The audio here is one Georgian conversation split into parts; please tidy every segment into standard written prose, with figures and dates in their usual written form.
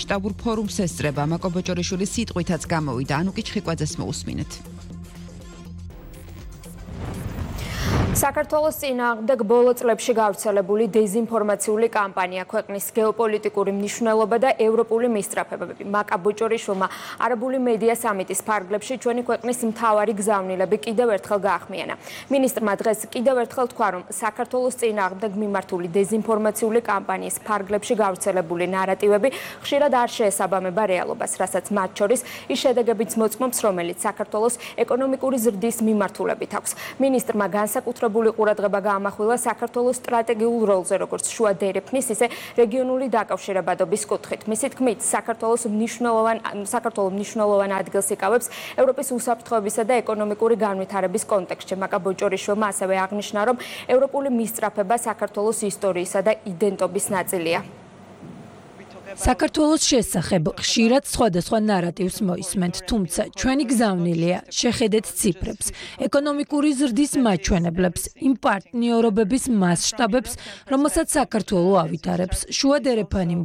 შტაბურ ფორუმს ესწრება, მაკო ბოჭორიშვილის სიტყვითაც გამოვიდა, ანუკი ჩხიკვაძეს მოусმინეთ. საქართველოს წინააღმდეგ ბოლო წლებში გავრცელებული დეზინფორმაციული კამპანია, ქვეყნის გეოპოლიტიკური მნიშვნელობა და ევროპული მისწრაფებები. მაკა ბოჭორიშვილმა არაბული მედია სამიტის ფარგლებში ჩვენი ქვეყნის მთავარი გზავნილები კიდევ ერთხელ გაახმიანა. მინისტრმა დღეს კიდევ ერთხელ თქვა, რომ საქართველოს წინააღმდეგ მიმართული დეზინფორმაციული კამპანიის ფარგლებში გავრცელებული ნარატივები ხშირად არ შეესაბამება რეალობას, რასაც მათ შორის ის შედეგებიც მოწმობს, რომელიც საქართველოს ეკონომიკური ზრდის მიმართულებით აქვს. მინისტრმა განსაკუთრებული ყურადღება გაამახვილა საქართველოს სტრატეგიულ როლზე, როგორც შუა დერეფნის, ისე რეგიონული დაკავშირებადობის კუთხით. მისი თქმით, საქართველოს მნიშვნელოვან ადგილს იკავებს ევროპის უსაფრთხოებისა და ეკონომიკური განვითარების კონტექსტში. მაკა ბოჭორიშვილმა ასევე აღნიშნა, რომ ევროპული მისწრაფება საქართველოს ისტორიისა და იდენტობის ნაწილია. საქართველოს შესახებ ხშირად სხვადასხვა ნარატივს მოისმენთ, თუმცა ჩვენი გზავნილია შეხედეთ ციფრებს, ეკონომიკური ზრდის მაჩვენებლებს, იმ პარტნიორობების მასშტაბებს, რომელსაც საქართველო ავითარებს. შუა დერეფანი,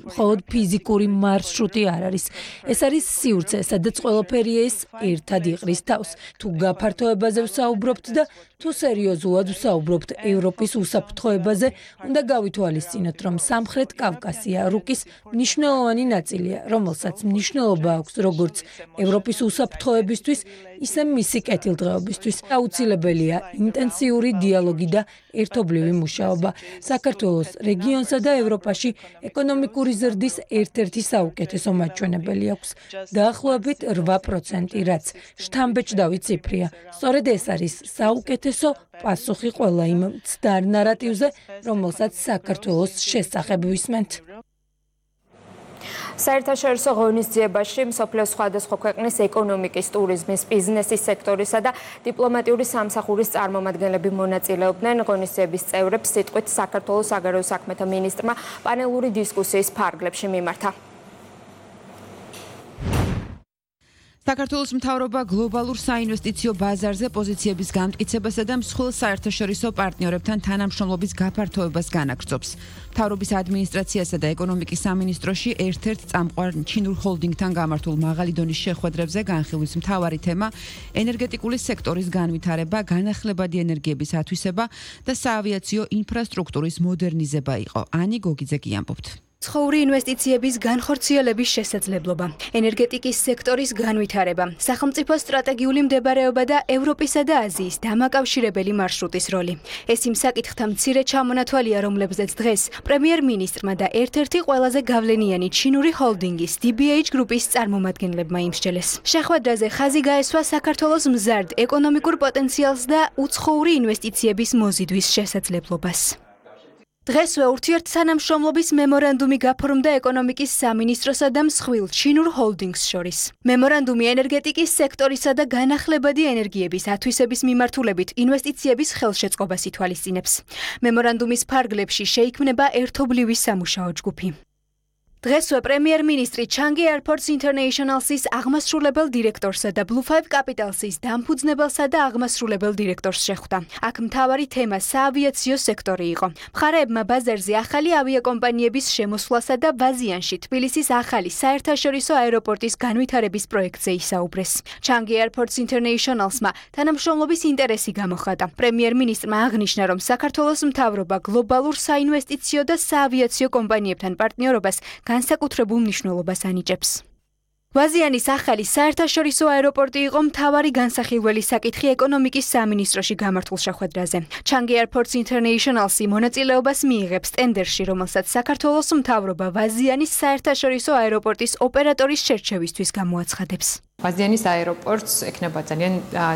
მხოლოდ ფიზიკური მარშრუტი არ არის. ეს არის სივრცე, სადაც ყველაფერი ეს ერთად იყრის თავს. თუ გაფართოებაზე ვსაუბრობთ და თუ სერიოზულად ვსაუბრობთ ევროპის უსაფრთხოებაზე, უნდა გავითვალისწინოთ, რომ სამხრეთ კავკასია რუკის მნიშვნელოვანი ნაწილია, რომელსაც მნიშვნელობა აქვს როგორც ევროპის უსაფრთხოებისთვის, ისე მისი კეთილდღეობისთვის. აუცილებელია ინტენსიური დიალოგი და ერთობლივი მუშაობა. საქართველოს რეგიონსა და ევროპაში ეკონომიკური ზრდის ერთ-ერთი საუკეთესო მაჩვენებელი აქვს. დაახლოებით 8%, რაც შთამბეჭდავი ციფრია. სწორედ ეს არის საუკეთესო პასუხი ყველა იმ მცდარ ნარატივზე, რომელსაც საქართველოს შესახებ ვისმენთ. საერთაშორისო ღონისძიებაში მსოფლიოს სხვადასხვა ქვეყნის ეკონომიკის, ტურიზმის, ბიზნესის სექტორისა და დიპლომატიური სამსახურის წარმომადგენლები მონაწილეობდნენ. ღონისძიების წევრებს სიტყვით საქართველოს საგარეო საქმეთა მინისტრმა პანელური დისკუსიის ფარგლებში მიმართა. საქართველოს მთავრობა გლობალურ საინვესტიციო ბაზარზე პოზიციების გამტკიცებასა და მსხვილ საერთაშორისო პარტნიორებთან თანამშრომლობის გაფართოებას განაგრძობს. მთავრობის ადმინისტრაციასა და ეკონომიკის სამინისტროში ერთ-ერთ წამყვარ ჩინურ ჰოლდინგთან გამართულ მაღალი დონის შეხვედრებზე განხილვის მთავარი თემა ენერგეტიკული სექტორის განვითარება, განახლებადი ენერგიების ათვისება და საავიაციო ინფრასტრუქტურის მოდერნიზება იყო. ანი გოგიძე ამბობთ. ცხოური ინვესტიციების განხორციელების შესაძლებლობა, ენერგეტიკის სექტორის განვითარება, სახელმწიფო სტრატეგიული მდებარეობა და ევროპისა და აზიის დამაკავშირებელი მარშრუტის როლი. ეს იმ საკითხთა მცირე ჩამონათვალია, რომლებზეც დღეს პრემიერ-მინისტრმა და ერთ-ერთი ყველაზე გავლენიანი ჩინური ჰოლდინგის DBH გრუპის წარმომადგენლებმა იმსჯელეს. შეხვედრაზე ხაზი გაესვა საქართველოს მზარდ ეკონომიკურ პოტენციალს და უცხოური ინვესტიციების მოზიდვის შესაძლებლობას. დღესვე ურთიერთთანამშრომლობის მემორანდუმი გაფორმდა ეკონომიკის სამინისტროსა და მსხვილ ჩინურ ჰოლდინგს შორის. მემორანდუმი ენერგეტიკის სექტორისა და განახლებადი ენერგიების ათვისების მიმართულებით ინვესტიციების ხელშეწყობას ითვალისწინებს. მემორანდუმის ფარგლებში შეიქმნება ერთობლივი სამუშაო ჯგუფი. დღესვე პრემიერ-მინისტრი ჩანგი Airports International-ის აღმასრულებელ დირექტორსა და Blue 5 Capital-ის დამფუძნებელსა და აღმასრულებელ დირექტორს შეხვდა. აქ მთავარი თემა საავიაციო სექტორი იყო. მხარეებმა ბაზარზე ახალი ავიაკომპანიების შემოსვლასა და ბაზიანში თბილისის ახალი საერთაშორისო აეროპორტის განვითარების პროექტზე ისაუბრეს. ჩანგი Airports International-სმა თანამშრომლობის ინტერესი გამოხატა. პრემიერ-მინისტრმა აღნიშნა, რომ საქართველოს მთავრობა გლობალურ საინვესტიციო და საავიაციო კომპანიებთან პარტნიორობას განსაკუთრებულ მნიშვნელობას ანიჭებს. ბაზიანის ახალი საერთაშორისო აეროპორტი იყო მთავარი განსახილველი საკითხი ეკონომიკის სამინისტროში გამართულ შეხვედრაზე. ჩანგი Airports International-ი მონაწილეობას მიიღებს ტენდერში, რომელსაც საქართველოს მთავრობა ბაზიანის საერთაშორისო აეროპორტის ოპერატორის შერჩევისთვის გამოაცხადებს. ბაზიანის აეროპორტს ექნება ძალიან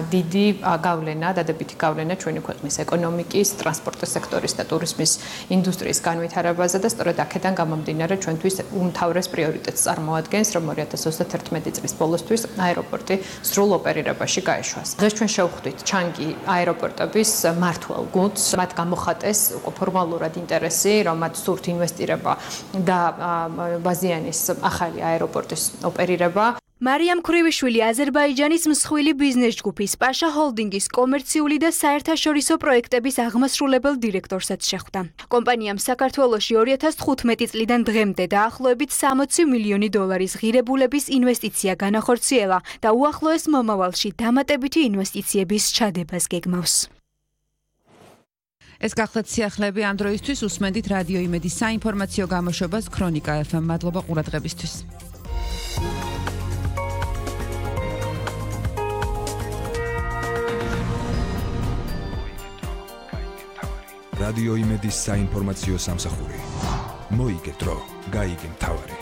დიდი გავლენა, დადებითი გავლენა ჩვენი ქვეყნის ეკონომიკის, ტრანსპორტის სექტორის და ტურიზმის ინდუსტრიის განვითარებაზე და სწორედ აქედან გამომდინარე ჩვენთვის უმთავრეს პრიორიტეტს წარმოადგენს, რომ 2021 წლის ბოლოსთვის აეროპორტი სრულ ოპერირებაში გაეშვას. დღეს ჩვენ შევხვდით ჩანგი აეროპორტების მმართველ გუნდს, მათ გამოხატეს ფორმალურად ინტერესი, რომ მათ სურთ ინვესტირება და ბაზიანის ახალი აეროპორტის ოპერირება. მარიამ ქრივიშვილი აზერბაიჯანის მსხვილი ბიზნეს ჯგუფის პაშა ჰოლდინგის კომერციული და საერთაშორისო პროექტების აღმასრულებელ დირექტორსაც შეხვდა. კომპანიამ საქართველოში 2015 წლიდან დღემდე დაახლოებით 60 მილიონი დოლარის ღირებულების ინვესტიცია განახორციელა და უახლოეს მომავალში დამატებითი ინვესტიციების ჩადებას გეგმავს. ეს გახლავთ სიახლეები ამ დროისთვის უსმენთ რადიო იმედის საინფორმაციო გამოშვებას ქრონიკა FM. მადლობა ყურადღებისთვის. რადიო იმედის საინფორმაციო სამსახური. მოიგე დრო, გაიგე მთავარი.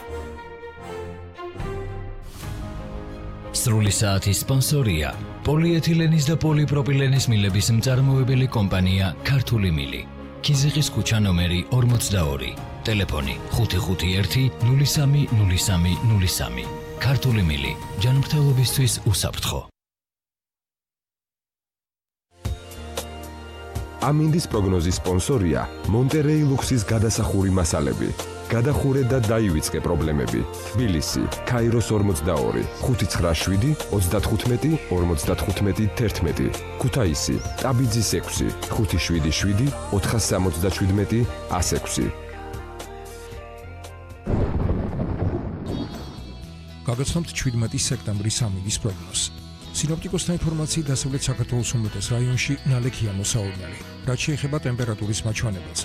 სრული საათის სპონსორია პოლიეთილენის და პოლიპროპილენის მილების მწარმოებელი კომპანია ქართული მილი. ქიზიყის ქუჩა ნომერი 42. ტელეფონი 551 030303. ქართული მილი. ჯანმრთელობისთვის უსაფრთხო. ამინდის პროგნოზის სპონსორია მონტერეი ლუქსის გადასახური მასალები. გადახურე და დაივიწყე პრობლემები. თბილისი, ქაიროს 42, 597 35 55 11. ქუთაისი, ტაბიძის 6, 577 477 106. გაგაცნობთ 17 სექტემბრის ამინდის პროგნოზს. სინოპტიკოსთა ინფორმაციით დასავლეთ საქართველოს უმეტეს რაიონში ნალექია მოსავალნელი, რაც შეეხება ტემპერატურის მაჩვენებელს.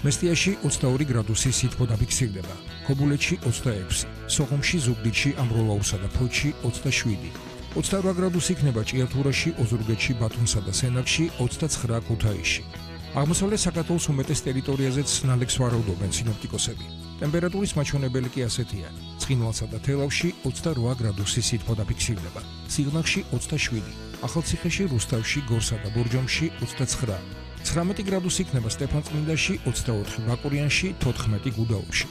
მესტიაში 22 გრადუსი სითბო დაფიქსირდება, ქობულეთში 26, სოხუმში, ზუგდიდში, ამროლაურსა და ფოთში 27, 28 გრადუსი იქნება ჭიათურაში, ოზურგეთში, ბათუმსა და სენაკში, 29 ქუთაისში. აღმოსავლეთ საქართველოს უმეტეს ტერიტორიაზეც ნალექს ვარაუდობენ სინოპტიკოსები. ტემპერატურის მაჩვენებელი კი ასეთია: ცხინვალსა და თელავში 28 გრადუსი სითბო დაფიქსირდება, სიღნაღში 27, ახალციხეში, რუსთავში, გორსა და ბორჯომში 29, 19 გრადუსი იქნება სტეფანწმინდაში, 24 ბაკურიანში, 14 გუდაუთში.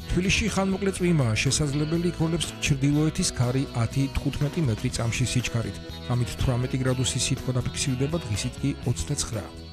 თბილისში ხანმოკლე წვიმაა შესაძლებელი, იქროლებს ჩრდილოეთის ქარი 10-15 მეტრი წამში სიჩქარით, ამით 18 გრადუსი სითბო დაფიქსირდება, დღისით კი 29.